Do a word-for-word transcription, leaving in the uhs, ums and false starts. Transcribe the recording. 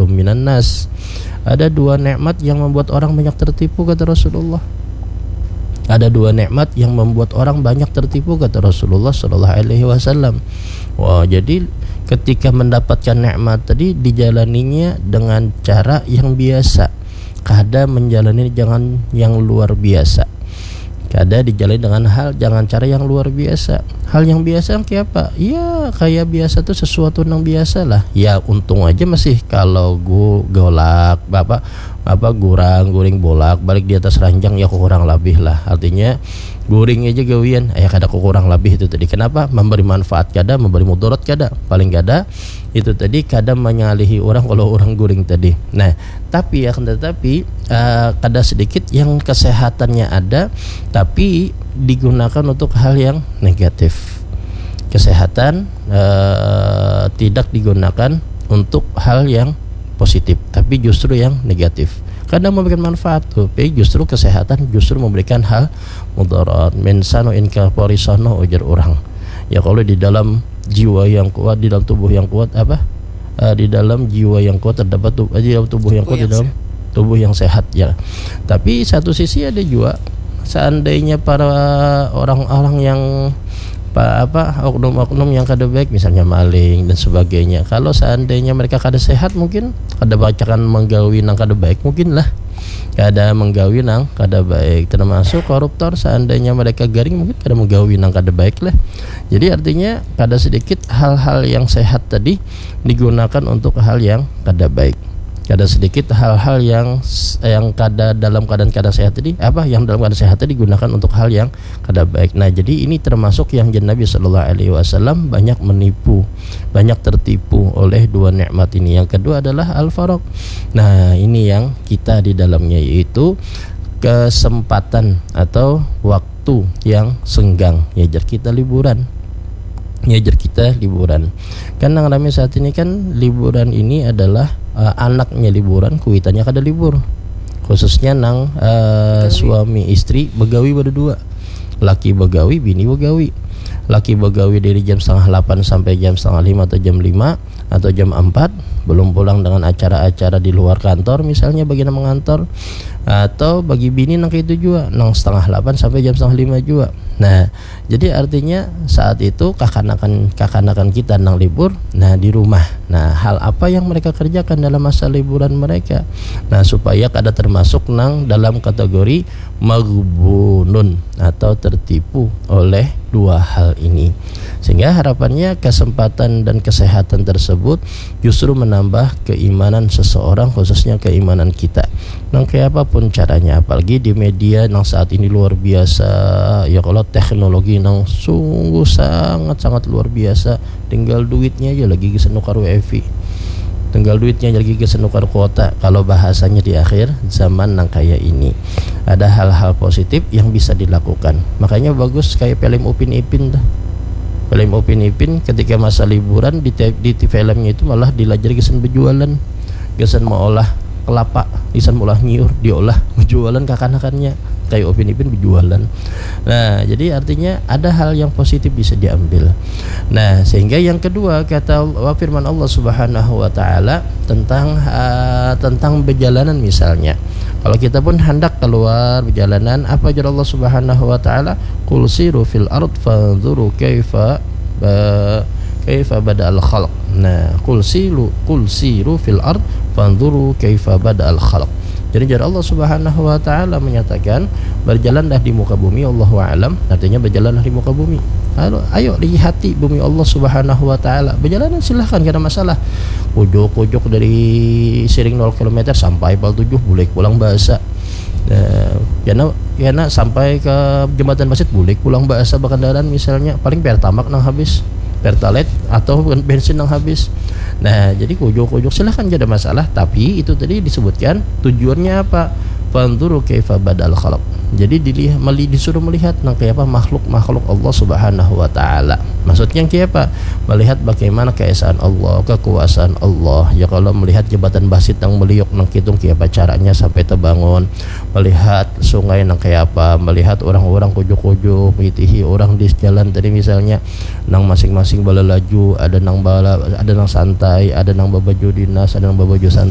minan nas. Ada dua nikmat yang membuat orang banyak tertipu, kata Rasulullah. Ada dua nikmat yang membuat orang banyak tertipu, kata Rasulullah sallallahu alaihi wasallam. Wah, jadi ketika mendapatkan nikmat tadi, dijalaninya dengan cara yang biasa. Kada menjalani dengan yang luar biasa. Kada dijalani dengan hal, jangan cara yang luar biasa. Hal yang biasa yang kayak apa? Ya, kayak biasa tuh sesuatu yang biasa lah. Ya, untung aja masih kalau gu-, golak, apa, apa, gurang, guring, bolak, balik di atas ranjang, ya kurang lebih lah. Artinya, guring aja gawian, ya kada kurang lebih itu tadi. Kenapa? Memberi manfaat kada, memberi mudarat kada. Paling kada, itu tadi kada menyalihi orang kalau orang guring tadi. Nah, tapi, akan tetapi, eh, kada sedikit yang kesehatannya ada, tapi digunakan untuk hal yang negatif. Kesehatan, eh, tidak digunakan untuk hal yang positif, tapi justru yang negatif. Kadang memberikan manfaat, tapi justru kesehatan justru memberikan hal mudarat. Min sano in kapori sono, ujar orang. Ya, kalau di dalam jiwa yang kuat, di dalam tubuh yang kuat, apa? Eh, di dalam jiwa yang kuat terdapat tu-, eh, di dalam tubuh yang kuat, di dalam tubuh yang sehat, ya. Tapi satu sisi ada juga, seandainya para orang-orang yang pa-, apa, oknum-oknum yang kada baik, misalnya maling dan sebagainya, kalau seandainya mereka kada sehat, mungkin kada bacakan menggawi nang kada baik, mungkin lah. Kada menggawi nang kada baik. Termasuk koruptor, seandainya mereka garing, mungkin kada menggawi nang kada baik lah. Jadi artinya, kada sedikit hal-hal yang sehat tadi digunakan untuk hal yang kada baik. Kada sedikit hal-hal yang s-, yang kada, dalam keadaan kada sehat tadi, apa, yang dalam keadaan sehat tadi digunakan untuk hal yang kada baik. Nah, jadi ini termasuk yang jen Nabi sallallahu alaihi wasallam banyak menipu, banyak tertipu oleh dua nikmat ini. Yang kedua adalah al-faragh. Nah, ini yang kita di dalamnya, yaitu kesempatan atau waktu yang senggang. Ya, jar kita liburan. Ya, jar kita liburan. Kan nang rame saat ini kan liburan ini adalah, eh, anaknya liburan, kuitannya kada libur. Khususnya nang, eh, suami istri begawi berdua. Laki begawi, bini begawi. Laki begawi dari jam setengah lapan sampai jam setengah lima atau jam lima atau jam empat, belum pulang dengan acara-acara di luar kantor, misalnya bagi nang mengantor, atau bagi bini nang kayak itu juga, nang setengah lapan sampai jam setengah lima juga. Nah, jadi artinya saat itu kakanakan, kakanakan kita nang libur, nah, di rumah. Nah, hal apa yang mereka kerjakan dalam masa liburan mereka? Nah, supaya kada termasuk nang dalam kategori maghbunun atau tertipu oleh dua hal ini. Sehingga harapannya kesempatan dan kesehatan tersebut justru menambah keimanan seseorang, khususnya keimanan kita. Nang kayak apapun caranya, apalagi di media nang saat ini luar biasa, ya, kalau teknologi nang sungguh sangat-sangat luar biasa, tinggal duitnya aja lagi gasan nukar wifi, tinggal duitnya aja lagi gasan nukar kuota. Kalau bahasanya di akhir zaman nang kayak ini, ada hal-hal positif yang bisa dilakukan. Makanya bagus kayak film Upin Ipin tuh. Film Upin Ipin ketika masa liburan di, te-, di, di filmnya itu malah dilajari gasan berjualan, gasan mengolah kelapa, gasan mengolah nyiur, diolah, berjualan kakanakannya, kayak Upin Ipin berjualan. Nah, jadi artinya ada hal yang positif bisa diambil. Nah, sehingga yang kedua, kata Allah, firman Allah Subhanahu wa Ta'ala tentang, eh, tentang perjalanan misalnya. Kalau kita pun hendak keluar perjalanan, apa jar Allah Subhanahu wa Ta'ala? "Qul siru fil ard fanzuru kaifa ba-, kaifa bada'al khalq." Nah, "Qul siru, qul siru fil ard fanzuru kaifa bada'al khalq." Jadi, jar Allah Subhanahu wa Ta'ala menyatakan, "Berjalanlah di muka bumi, Allahu a'lam," artinya berjalanlah di muka bumi. Lalu, ayo lihati bumi Allah Subhanahu wa Ta'ala. Berjalan silahkan, kada masalah. Ujuk-ujuk dari Siring nol kilometer sampai Pal tujuh, bulik pulang bahasa. Eh, karena, karena sampai ke Jembatan Pasit, bulik pulang bahasa berkendaraan misalnya, paling Pertamax nang habis, Pertalite atau bensin nang habis. Nah, jadi ujuk-ujuk silahkan, kada masalah, tapi itu tadi disebutkan tujuannya apa? "Fanzuru kaifa bada'al khalq." Jadi dilih-, meli-, disuruh melihat nang kayak apa makhluk-makhluk Allah Subhanahu wa Ta'ala. Maksudnya kayak apa? Melihat bagaimana keesaan Allah, kekuasaan Allah. Ya, kalau melihat Jembatan Pasit nang meliuk nang kitung, kayak apa caranya sampai terbangun? Melihat sungai nang kayak apa? Melihat orang-orang ujuk-ujuk, mitihi orang di jalan tadi misalnya, nang masing-masing balalaju, ada nang bala-, ada nang santai, ada nang babaju dinas, ada nang babaju santai.